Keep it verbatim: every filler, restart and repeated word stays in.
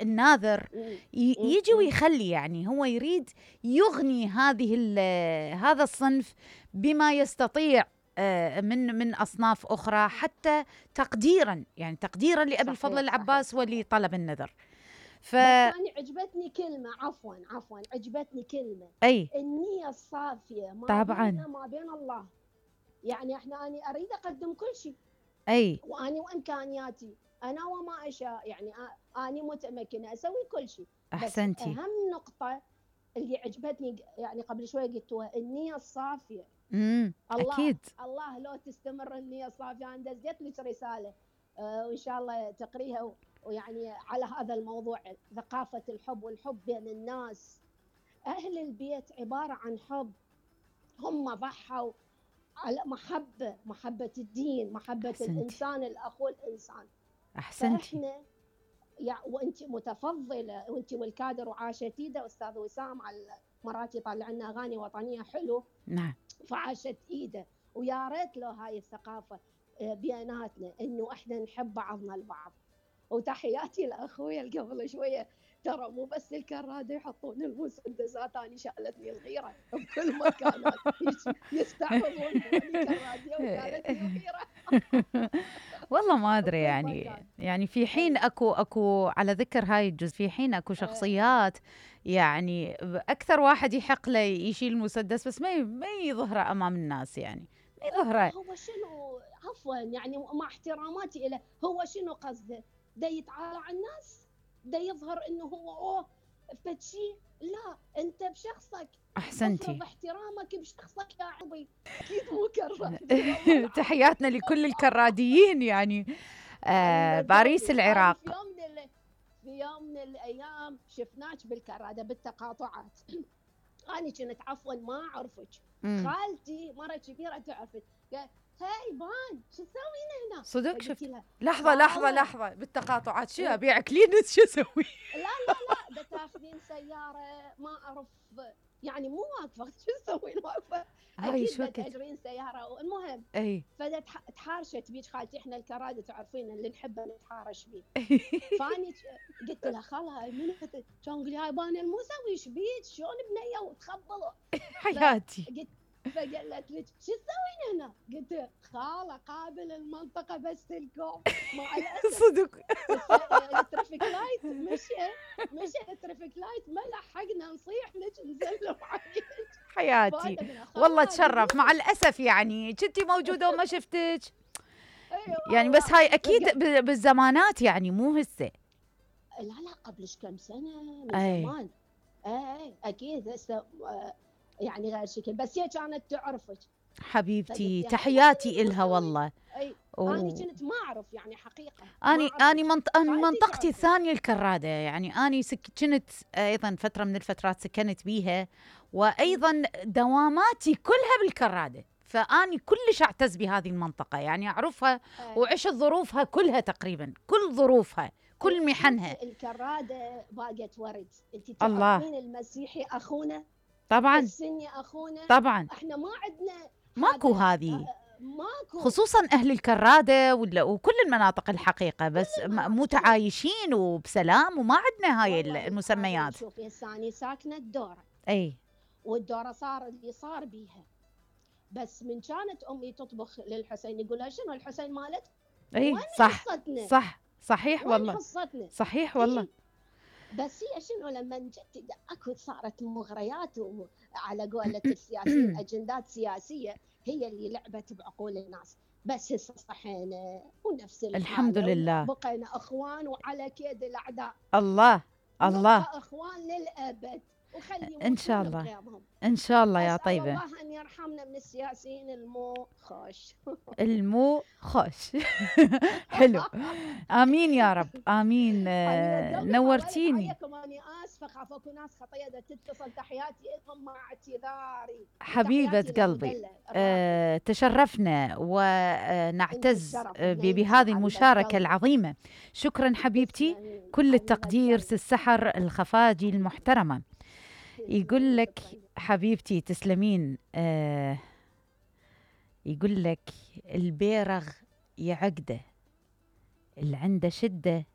الناذر يجي ويخلي، يعني هو يريد يغني هذه هذا الصنف بما يستطيع من من أصناف أخرى، حتى تقديرا يعني تقديرا لأبي الفضل العباس ولطلب النذر. ف... بس أنا عجبتني كلمة، عفوا عفوا عجبتني كلمة، أي النية الصافية ما طبعا بيننا ما بين الله. يعني احنا أنا أريد أقدم كل شيء، أي وأني وإمكانياتي أنا وما أشاء، يعني أنا متمكنة أسوي كل شيء. أحسنتي. بس أهم نقطة اللي عجبتني يعني قبل شوي قلتوها، النية الصافية. امم الله أكيد. الله لو تستمر النية الصافية. أنا دزيت لك رسالة أه وإن شاء الله تقريها، ويعني على هذا الموضوع، ثقافة الحب والحب بين الناس. أهل البيت عبارة عن حب، هم ضحوا على محبة، محبة الدين، محبة أحسنتي. الإنسان الأخو الإنسان. أحسنتي. فإحنا يعني وأنت متفضلة، وأنت والكادر وعاشت إيده أستاذ وسام، على مرات يطلع لنا أغاني وطنية حلو. نعم. فعاشت إيده، ويا ريت له هاي الثقافة بيناتنا، إنه إحنا نحب بعضنا البعض. وتحياتي لأخويا اللي قبل شوية، ترى مو بس الكرادة يحطون المسدسات، أنا شغلتني الغيرة بكل مكان يستعرضون الكرادة وقالت لي الغيرة. والله ما أدري يعني يعني في حين أكو أكو على ذكر هاي الجزء، في حين أكو شخصيات يعني أكثر واحد يحق له يشيل المسدس، بس ما ما يظهره أمام الناس، يعني ما يظهره. هو شنو عفوا يعني مع احتراماتي له، هو شنو قصده؟ دا يتعالى على الناس؟ دا يظهر انه هو اوه فتشي؟ لا، انت بشخصك. احسنتي. افرض احترامك بشخصك يا عبي، اكيد مو كراد. تحياتنا لكل الكراديين يعني. آه باريس العراق. في يوم من ال... في يوم من الايام شفناك بالكراده بالتقاطعات. انا كنت عفوا ما اعرفك، خالتي مره كبيره تعرفك، هاي بان شو تسوين هنا؟ صدق شفت؟ لحظة لحظة لحظة بالتقاطعات شو أبيع كلينس شو أسوي؟ لا لا لا، ده تاخذين سيارة ما أعرف يعني مو واقفة، شو تسوين واقفة؟ أكيد بتأجرين سيارة. المهم أي فده تحارشت بيج خالتي، إحنا الكرادة تعرفين اللي نحبه نتحارش بيه. فاني قلت لها خالها من كان تقولي هاي بان الموسوي ايش بيك شلون بنيه وتخبلوا حياتي. قلت فقالت لي شو تسوين هنا؟ قلت خاله قابل المنطقه بس الكوم مع الاسف. صدق. الترافيك لايت مشى مشى الترافيك لايت ما لحقنا نصيح لك نزل معك. حياتي والله تشرف. مع الاسف يعني كنتي موجوده وما شفتك. يعني بس هاي اكيد بالزمانات يعني مو هسه. لا لا قبل كم سنه من أي. زمان اي اكيد هسه يعني غير شكل، بس هي كانت تعرفك حبيبتي. يعني تحياتي إلها والله. اي انا كنت ما اعرف يعني حقيقه. اني اني منط... منطقتي الثانيه الكراده، يعني اني سك... كنت ايضا فتره من الفترات سكنت بيها، وايضا دواماتي كلها بالكراده، فاني كلش اعتز بهذه المنطقه، يعني اعرفها وعشت ظروفها كلها تقريبا، كل ظروفها كل محنها. الكراده باقت ورد. انت تعرفين المسيحي اخونا طبعا، السني اخونا طبعا، احنا ما عندنا ماكو هذه ماكو، خصوصا اهل الكراده ولا وكل المناطق الحقيقه، بس متعايشين وبسلام وما عندنا هاي المسميات. شوفي هسه اني ساكنه الدوره، اي والدوره صار اللي صار بيها، بس من كانت امي تطبخ للحسين يقولها شنو الحسين مالت؟ اي صح حصتنا؟ صح صحيح والله حصتنا؟ صحيح والله. إيه؟ بس هي شنو لما جت اكو صارت مغريات على قولة السياسيين اجندات سياسيه هي اللي لعبت بعقول الناس، بس هسه صحينا ونفس الحمد لله، بقينا اخوان وعلى كيد الاعداء. الله الله، اخوان للابد، وخلي ان شاء الله ان شاء الله يا طيبه. الله ان يرحمنا من السياسيين المو خوش. المو خوش. حلو، امين يا رب امين. نورتيني. اني اسفه خاف اكو ناس خطيه تتصل، تحياتي لهم مع اعتذاري. حبيبه قلبي، أه تشرفنا ونعتز بهذه المشاركه العظيمه. شكرا حبيبتي، كل التقدير. السحر الخفاجي المحترمه يقول لك حبيبتي تسلمين. آه يقول لك البيرغ يعقده، اللي عنده شده